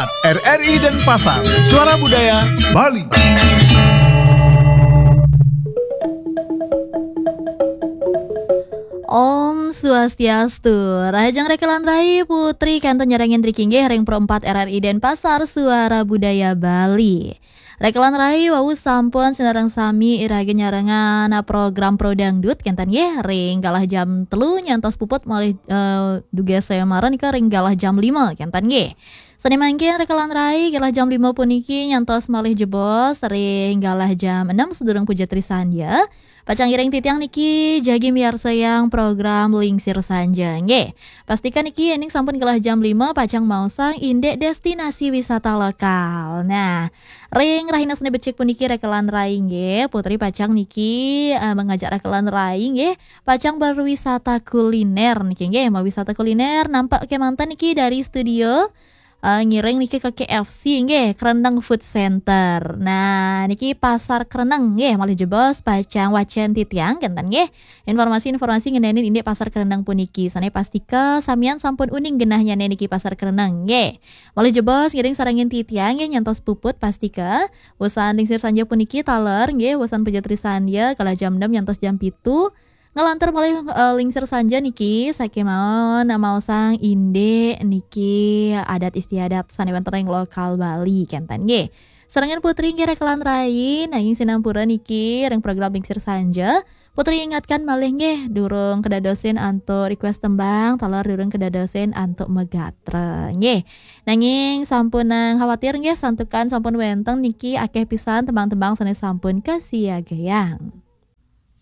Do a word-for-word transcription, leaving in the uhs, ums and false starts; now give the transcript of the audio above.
R R I Denpasar, Suara Budaya Bali. Om Swastiastu. Rahajeng rekelan rai, Putri kantun nyarengin riki nggih ring Pro empat R R I Denpasar, Suara Budaya Bali. Rekelan rai, wau sampun sinareng sami iraga nyarengin program Pro Dangdut kenten nggih ring galah jam telu nyantos puput malih eh, dugas saya mara nika ring galah jam lima kenten nggih. Sane mangkin rekelan rai, galah jam lima puniki nyantos malih jebos ring galah jam enam sadurung puja trisandya. Pacang ngiring titiang niki jagi miarsayang program Lingsir Sanja nggih. Pastikan niki yening sampun galah jam lima pacang maosang indik destinasi wisata lokal. Nah, ring rahina sane becik puniki rekelan rai nggih, Putri pacang niki eh, mengajak rekelan rai nggih, pacang berwisata kuliner niki nggih, mau wisata kuliner nampak kemanten niki dari studio eh, ngiring niki ke K F C nggih, Kreneng Food Center. Nah, niki Pasar Kreneng nggih, malih jebos pacang wacen titiang kenten nggih. Informasi-informasi ngenenin indik Pasar Kreneng puniki. Sane pastika samian sampun uning genahnyane niki Pasar Kreneng nggih. Malih jebos ngiring sarengin titiang nggih nyantos puput pastika. Wusan Lingsir Sanja puniki taler nggih, wusan puja trisandya kala jam enam nyantos jam pitu. Ngelantur malih eh, Lingsir Sanja niki, sakemawon maosang indik niki adat istiadat sane wenten ring lokal Bali kenten nggih. Sarengan Putri nggih rekelan rai, nanging sinampura niki ring program Lingsir Sanja. Putri ingatkan malih nggih, durung kedadosin antuk request tembang, taler durung kedadosin antuk megatra nggih. Nanging sampun nang khawatir nggih, santukan sampun wenten niki akeh pisan tembang-tembang sane sampun kasiagayang.